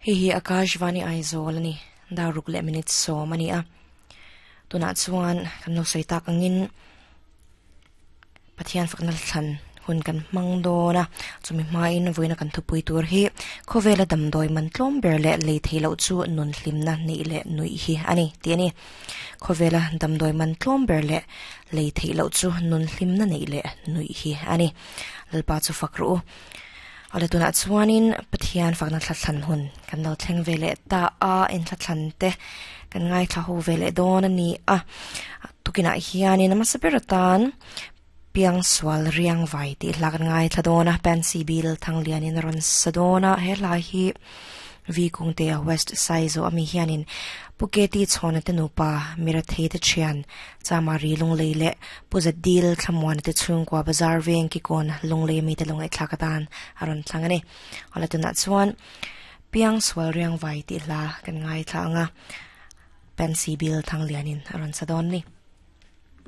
Hei hi Akashvani Aizawl a ni, dar ruk leh minute sawm a ni a. Tunah chuan kan lo sawi tak angin Pathian fakna thlan hun kan hmang dawn a, chumi hmain vawiina kan thupui tur hi khawvela damdawi man tlawm ber leh lei theih loh chu nun hlimna neih leh nuih hi a ni tih a ni. Khawvela damdawi man tlawm ber leh lei theih loh chu nun hlimna neih leh nuih hi a ni. Lalpa chu fak rawh u. Awle tunah chuanin Pathian fakna thlathlan hun kan lo thleng ve leh ta a, inthla-thlan te kan ngaithla ho ve leh dawn a ni a. Tukinah hianin a hmasa ber atan Piangsual Riangvai tih hla kan ngaithla dawn a, Pansy Bill Thanglianin a rawn sa dawn a, he hla hi Vi Kungtea West Saizaw ami hianin Pu Keti Chhawna te nupa Mirathei te thian Chamari Lunglei leh Pu Zadil Thlamuana te chhungkua Bazar Veng Kikawn Lunglei mite lo ngaihthlak atan a rawn thlang a ni. Awle tunah chuan Piangsual Riangvai tih hla kan ngaithla ang a, Pansy Bill Thanglianin a rawn sa dawn a ni.